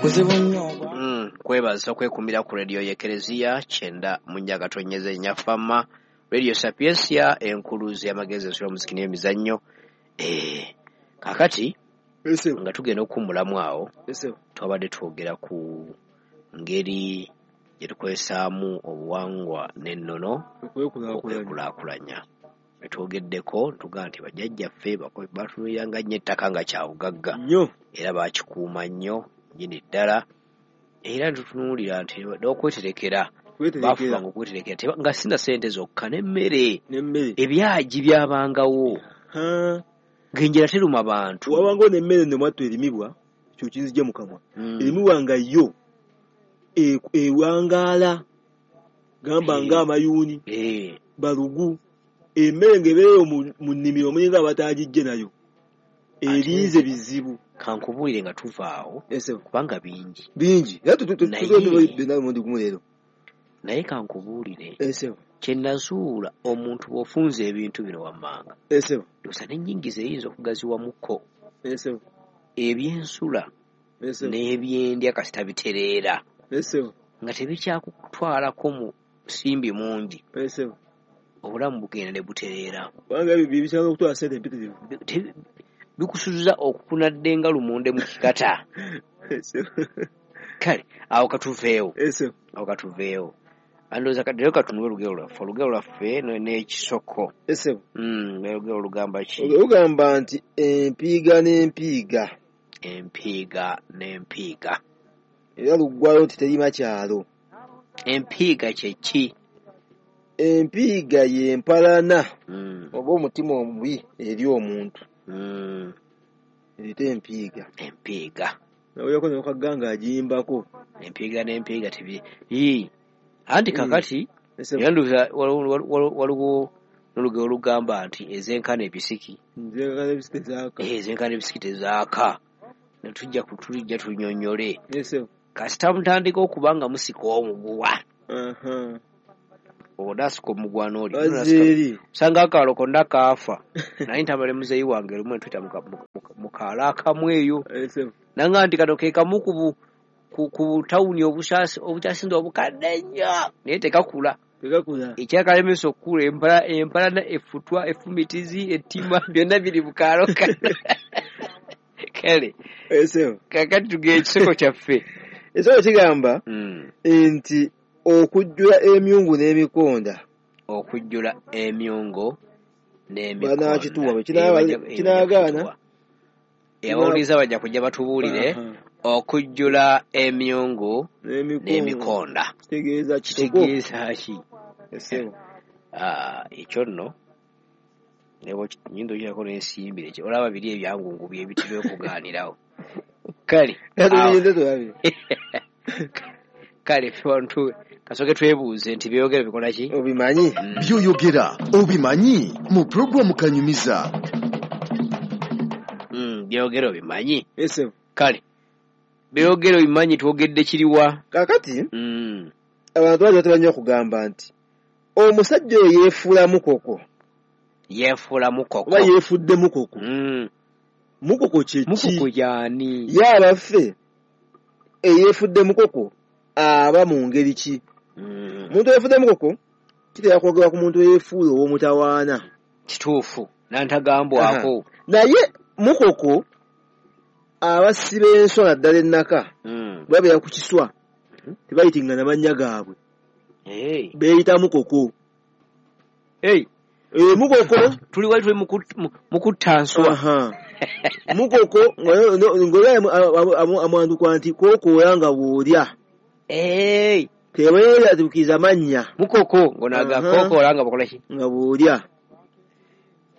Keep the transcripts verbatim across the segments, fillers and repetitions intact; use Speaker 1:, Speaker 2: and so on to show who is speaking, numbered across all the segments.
Speaker 1: Kuzibu nnyo.
Speaker 2: Mm, kwebaza okwekumira ku rediyo y'Ekereziya kyenda mu nnya gatonyeze Nnyafama, Radio Sapientia, enkuluzi y'amagezi, ensula omuziki n'emizannyo. Eh, kaakati nga tugenda okuwummulamu awo, twabadde twogera ku ngeri gye tukozesaamu obuwangwa n'ennono okwekulaakulanya. Twogeddeko tugamba nti bajjajjaffe batunuuliranga nnyo ettaka nga kya bugagga era baakikuuma nnyo nnyini ddala, era tutunuulira nti n'okweterekera baafubanga okweterekera nga si na ssente zokka n'emmere, ebyagi byabangawo ng'enjala teruma bantu.
Speaker 3: Wabangawo n'emmere nno mwattu erimibwa, ekyo kinzigye mu kamwa, erimibwa nga yo ewangaala, gamba ng'amayuuni, balugu, emmere ng'ebeereyo mu nnimiro mulinga abataagijje nayo, erinze bizibu.
Speaker 2: Kankubuulire nga tuva awo kubanga bingi
Speaker 3: bingi,
Speaker 2: naye kankubuulire kye nazuula, omuntu bw'ofunza ebintu bino wammanga ndowooza n'ennyingiza eyinza okugaziwamukko, ebyensula n'ebyendya kasita bitereera nga tebikyakutwalako mu nsimbi mungi, obulamu bugenda ne butereera.
Speaker 3: Kubanga ebyo bikyanga okutwala ssente empitirivu,
Speaker 2: bikusuza okukunadde nga lumonde mu kikata. Kale awo katuveewo, awo katuveewo. Andowooza kati leero katunuule olugero lwaffe, olugero lwaffe n'ekisoko. Olugero olugamba ki?
Speaker 3: Olugamba nti empiiga n'empiiga.
Speaker 2: Empiiga n'empiiga.
Speaker 3: Era luggwayo nti terima kyalo.
Speaker 2: Empiiga kye ki?
Speaker 3: Empiiga y'empalana oba omutima omubi eri omuntu. Erita empiiga.
Speaker 2: Empiiga.
Speaker 3: Nawulirako ne Kagga ng'agiyimbako.
Speaker 2: Empiiga n'empiiga tebi. Anti kakati era ndowooza waliwo n'olugero olugamba nti ezenkana ebisiki.
Speaker 3: Ezenkana ebisiki tezaaka.
Speaker 2: Ezenkana ebisiki tezaaka. Ne tujja tulijja tunnyonnyole. Kasita mutandika okuba nga musika omuguwa. Onaasika omuguwa n'oli. Osanga akaalo konna kaafa. Naye ntamale muzeeyi wange lumu ne tuyita mu kaalo akamu eyo. Nanga nti kano ke kamu ku ku tawuni obukyasinze obukadde ennyo naye tekakula. Ekyakalemesa okukula empalana, effutwa, effumitizi, ettima byonna biri mu kaalo kano. Kale kaakati tugenda ekisoko kyaffe.
Speaker 3: Ekisoko kigamba nti okujjula emyungu n'emikonda.
Speaker 2: Okujjula emyungu n'emikonda.
Speaker 3: Banaakituwa kinaagaana.
Speaker 2: Abawuliriza bajja kujja batubuulire. Okujjula emyungu n'emikonda
Speaker 3: kitegeeza
Speaker 2: kitegeeza ki? Ekyo nno nnyinza okukirako n'ensimbi, olaba biri ebyangungu bye bitera okugaanirawo. Kale kale ffe wano kasooke twebuuze nti by'oyogera bikola ki?
Speaker 3: Obimanyi?
Speaker 4: By'oyogera obimanyi mu pulogulaamu Kanyumiza.
Speaker 2: By'oyogera obimanyi? Kale by'oyogera obimanyi twogedde kiriwa?
Speaker 3: Kaakati abantu bangi batera nnyo okugamba nti omusajja oyo yeefuula mukoko.
Speaker 2: Yeefuula mukoko.
Speaker 3: Oba yeefudde mukoko. Mukoko kye ki?
Speaker 2: Mukoko y'ani?
Speaker 3: Ye abaffe eyeefudde mukoko aba mu ngeri ki? Omuntu eyeefudde mukoko kitera kwogerwa ku muntu eyeefuula ow'omutawaana.
Speaker 2: Kituufu nantagambwako.
Speaker 3: Naye mukoko abasiba enswa naddala ennaka babeera ku kiswa tebayitingana mannya gaabwe, beeyita mukoko. Mukoko
Speaker 2: tuli wali tuli mukutta nswa.
Speaker 3: Mukoko ng'oli amwandukwa nti kookoola nga bw'olya. Tebeeratuukiza mannya.
Speaker 2: Mukoko ng'onaga kookoola nga bw'okola ki?
Speaker 3: Nga bw'olya.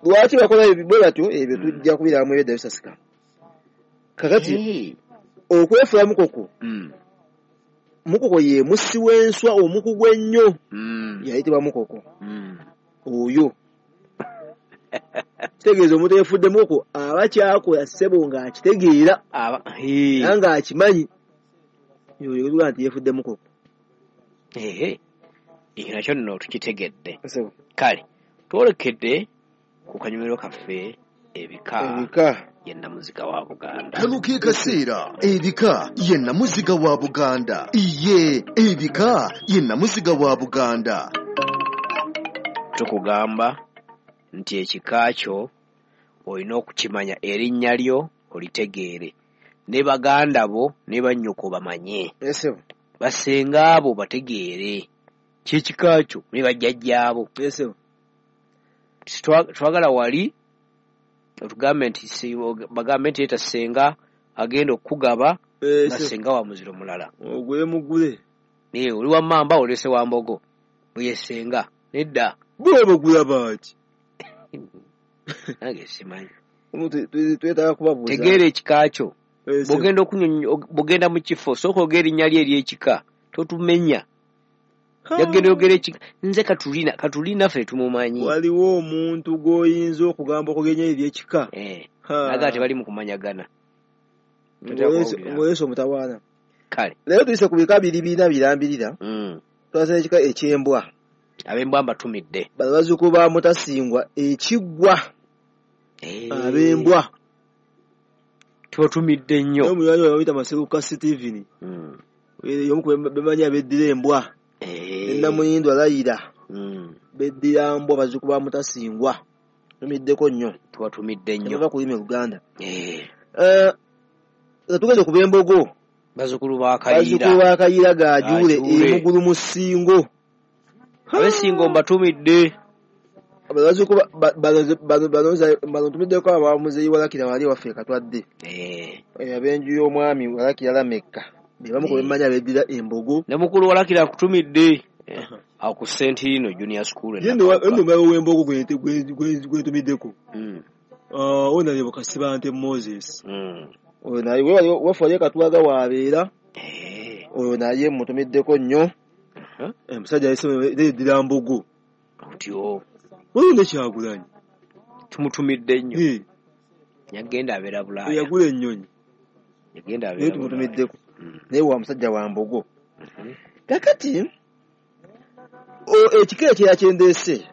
Speaker 3: Lwaki bakola bwe batyo? Ebyo tujja kubiramu ebyedda bisasika. Kakati okwefuula mukoko, mukoko ye mussi w'enswa omukugu ennyo, yayitibwa mukoko oyo. Kitegeeza omuntu eyefudde mukoko aba kyakola ssebo ng'akitegeera era ng'akimanyi, oyo tugaa nti yeefudde mukoko.
Speaker 2: Ekyo nakyo nno tukitegedde. Kale twolekedde ku kanyumiro kaffe ebika.
Speaker 3: Ebika.
Speaker 2: ye nnamuziga wa Buganda.
Speaker 4: Kano ke kaseera ebika ye nnamuziga wa Buganda. Iye ebika ye nnamuziga wa Buganda.
Speaker 2: Tukugamba nti ekika kyo olina okukimanya, erinnya lyo olitegeere, ne baganda bo ne bannyoko bamanye, basenga abo bategeere kyekika kyo ne bajjajjaabo. Twagala wali otugambe nti bagambe nti leeta ssenga agenda okukugaba nga ssenga wa muziro mulala,
Speaker 3: ogwe mugule
Speaker 2: oli wa mmamba olese wa mbogo oye ssenga nedda.
Speaker 3: Bo bagula baki?
Speaker 2: Nange simanyi.
Speaker 3: Twetaaga kubabuuza.
Speaker 2: Tegeera ekika kyo. Bw'ogenda bw'ogenda mu kifo sooka ogera erinnya lyo ery'ekika, totumenya. Yagenda oyogera ekika, nze Katulina, Katulina ffe tumumanyi.
Speaker 3: Waliwo omuntu gw'oyinza okugamba okugenya ery'ekika.
Speaker 2: Naga tebali mu kumanyagana.
Speaker 3: Ng'oleese omutawaana.
Speaker 2: Kale.
Speaker 3: Leero tuyise ku bika biri bina birambirira. Twasala ekika eky'embwa.
Speaker 2: Ab'embwa mbatumidde.
Speaker 3: Bano bazzukulu ba Mutasingwa ekiggwa. Ab'embwa.
Speaker 2: Tubatumidde nnyo.
Speaker 3: Naye omunywanyi waabwe bamuyita Maseruka Stephen. Y'omu ku bemanyi abeddira embwa. Namuyindwa Layira. Beddira mbwa bazzukulu ba Mutasingwa. Tumiddeko nnyo.
Speaker 2: Tubatumidde nnyo.
Speaker 3: Tebava ku lulimi Luganda. Tugenda ku b'embogo.
Speaker 2: Bazzukulu ba Kayiira.
Speaker 3: Bazzukulu ba Kayiira Gajuule e Mugulu mu Ssingo.
Speaker 2: Abesingo mbatumidde.
Speaker 3: Bazzukulu bano ntumiddeko abamuzeeyi Walakira wali waffe Katwadde. Ab'enju y'omwami Walakira Lameka. Be bamu ku bemanyi abeddira embogo.
Speaker 2: Ne mukulu Walakira akutumidde. Awo ku Sentino Junior School.
Speaker 3: Ye nno omulabe w'embogo gwe ntumiddeko. Ono ye Kasibante Moses. Oyo naye waffe wali e Katwaga w'abeera. Oyo naye mmutumiddeko nnyo. Omusajja yeddira mbogo.
Speaker 2: Otyo.
Speaker 3: Waliwo ne Kyagulanyi.
Speaker 2: Tumutumidde nnyo. Yagenda abeera Bulaaya.
Speaker 3: Yagula ennyonyi.
Speaker 2: Yagenda abeera
Speaker 3: Naye tumutumiddeko. Naye wa musajja wa mbogo. Kaakati ekika ekirala kye ndeese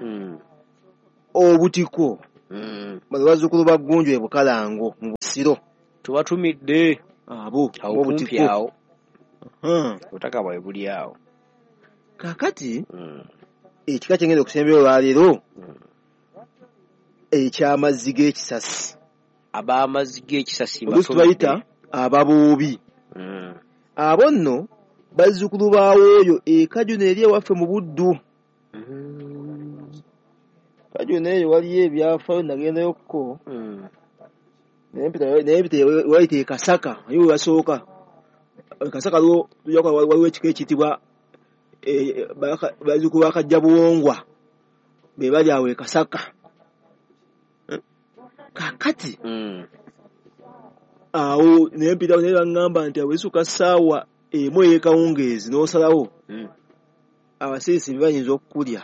Speaker 3: obutiko. Bano bazzukulu ba Ggunju e Bukalango mu Busiro.
Speaker 2: Tubatumidde.
Speaker 3: Abo
Speaker 2: awo kumpi awo. Obutaka bwabwe buli awo.
Speaker 3: Kaakati ekika kye ngenda okusembera olwaleero eky'amazzi g'ekisasi.
Speaker 2: Ab'amazzi g'ekisasi
Speaker 3: oluusi tubayita ababuubi. Abo nno bazzukulu ba Wooyo e Kajuna eri ewaffe mu Buddu. Kajuna eyo waliyo ebyafaayo nagendayokko. Naye mpita wayita e Kasaka, naye we basooka. E Kasaka waliwo ekika ekiyitibwa bazzukulu ba Kajjabuwongwa be bali awo e Kasaka. Kaakati awo naye mpita naye baŋŋamba nti awo essuka ssaawa emu ey'ekawungeezi n'osalawo abasiisi bayinza okukulya.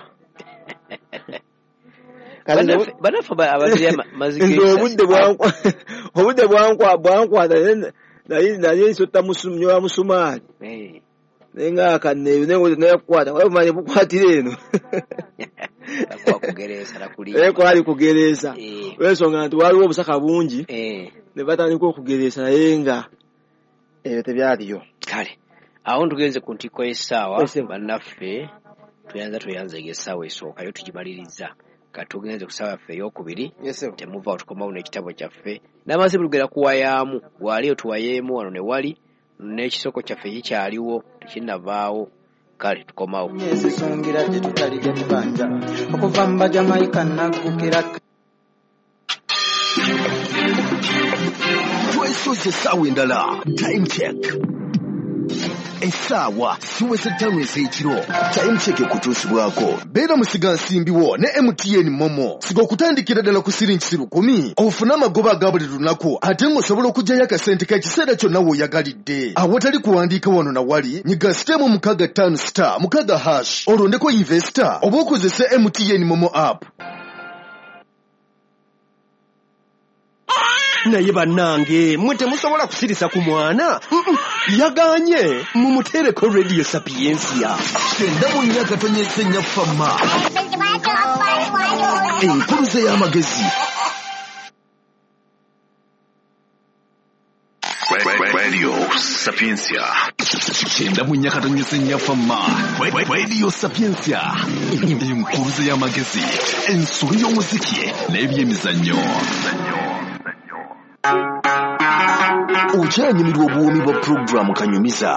Speaker 2: Bannaffe abazira mazzi g'ekisasi.
Speaker 3: Obudde bwankwata naye nsotta nyola musumaali. Naye nga akanneeyo naye kukwata wabula bukwatira eno. Naye kwali kugereesa. Olw'ensonga nti waliwo obusaka bungi ne batandika okugereesa naye nga ebyo tebyaliyo.
Speaker 2: Kale awo tugenze ku ntikko y'essaawa bannaffe tweyanza tweyanzeege essaawa esookayo tugimaliriza. Kati tugenze ku ssaawa yaffe ey'okubiri temuva tukomawo n'ekitabo kyaffe n'amazzi bulugera kuwayaamu waliyo tuwayeemu wano ne wali n'ekisoko kyaffe kikyaliwo tekinnavaawo. Kale tukomawo.
Speaker 1: Ezisongira gye tutalidde tubanja okuva mu Bajamaika naggukira.
Speaker 4: Twesoze essaawa endala. Time check. Essaawa ziweze ttaano ez'ekiro. Time check ekutuusibwako. Beera musigansimbiwo ne M T N Momo. Siga okutandikira ddala ku siringi lukumi ofune amagoba aga buli lunaku ate ng'osobola okuggyayo akasente k'ekiseera kyonna w'oyagalidde. Awatali kuwandiika wano na wali, nyiga sitemu mukaaga ttaano star mukaaga hash olondeko investor oba okozese M T N Momo app.
Speaker 5: Naye bannange mmwe temusobola kusirisa ku mwana. Yaganye mumuteereko Radio Sapientia.
Speaker 4: Kyenda mu nnya katonyeze nnya fama. Enkuluze y'amagezi.
Speaker 6: Sapientia kyenda mu nnya katonyeze nnya Fama. Radio Sapientia, enkuluze y'amagezi, ensolo y'omuziki n'ebyemizannyo.
Speaker 4: Okyanyumirwa obuwoomi bwa pulogulaamu Kanyumiza.